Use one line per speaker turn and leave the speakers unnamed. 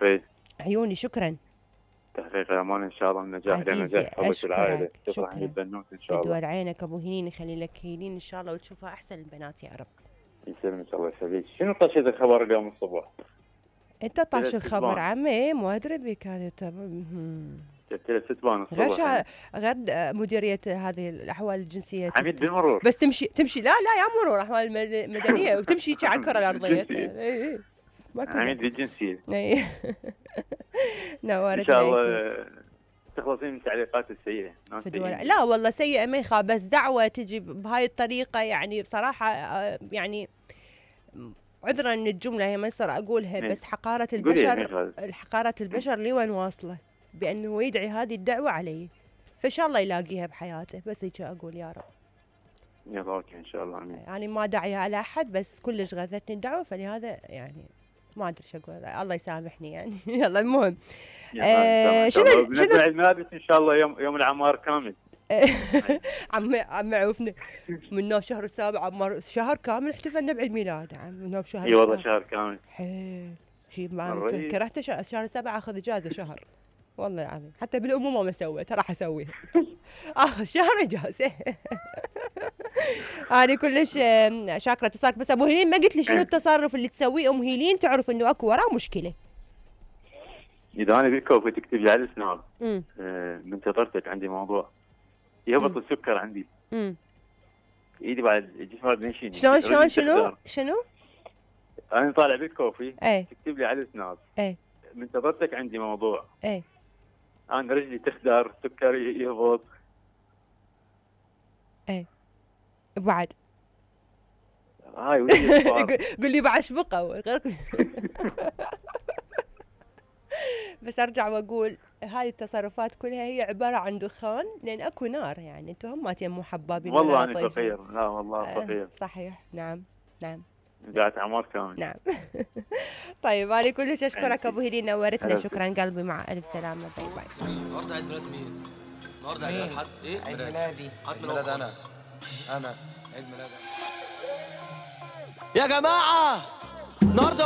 توفيق.
عيوني شكرا.
تحقيق الامال ان شاء الله، النجاح
عزيزي
لنجاح حبك العائله،
اشكرك
تفرح
شكرا.
البنوت ان شاء الله.
بدول عينك ابو هيلين، يخلي لك هيلين ان شاء الله وتشوفها احسن البنات يا رب.
يسلمك الله يخليك. شنو طشت الخبر اليوم الصبح؟
انت طاش
ثلاث
الخبر
ستبان.
عمي، مو ادري بك كانت
ثلاث ستبان الصبح.
غير مديريه هذه الاحوال الجنسيه
عميد بالمرور.
بس تمشي لا يا مرور احوال المدنيه وتمشي على الكره الارضيه. اي
عميد بالجنسيه.
اي نورت
ان شاء الله تخلصين من التعليقات السيئه.
لا والله سيئه ما يخاف، بس دعوه تجي بهاي الطريقه يعني بصراحه يعني عذرا ان الجمله هي ما يصير اقولها، بس حقاره البشر لي وين واصله بانه يدعي هذه الدعوه علي، فان شاء الله يلاقيها بحياته، بس هيك اقول يا رب.
يا اوكي ان شاء الله امين.
يعني ما داعيه على احد، بس كلش غثتني الدعوه، فلهذا يعني ما ادري شو اقول، الله يسامحني يعني. يلا المهم
شنو بالنسبه للملابس ان شاء الله يوم العمار كامل.
عم عوفنا من شهر السابع شهر كامل احتفلنا بعيد ميلاد من شهر.
اي والله شهر كامل.
حيل شيء ما كرهت شهر 7 اخذ اجازه شهر والله العظيم، حتى بالامومه ما سويت، راح اسويها. اخذ شهر اجازه. انا كلش شاكره اتصالك. بس ابو هيلين ما قلت لي شنو التصرف اللي تسويه ام هيلين تعرف انه اكو وراه مشكله؟
اذا انا بالكوفي تكتب لي على السناب من انتظرتك عندي موضوع يهبط السكر عندي. ايدي بعد جسمي بنشيني.
شنو؟
انا طالع بالكوفي
تكتب
لي على السناب من انتظرتك عندي موضوع. انا رجلي تخدر، سكري يهبط.
بعد
هاي ودي
قول لي بعد شبقه. بس ارجع واقول هاي التصرفات كلها هي عباره عن دخان، لان اكو نار يعني انتم هم مو حبابين.
والله انا فقير. لا والله فقير.
صحيح. نعم
قاعد عمار كامل.
نعم. طيب انا كلش اشكرك ابو هيلين، نورتنا. شكرا قلبي، مع الف سلامه. باي باي.
النهارده عيد ميلاد مين؟ النهارده عيد ميلاد حد؟ ايه؟
عيد ميلادي.
عيد ميلاد انا عيد ميلادي يا جماعه النهارده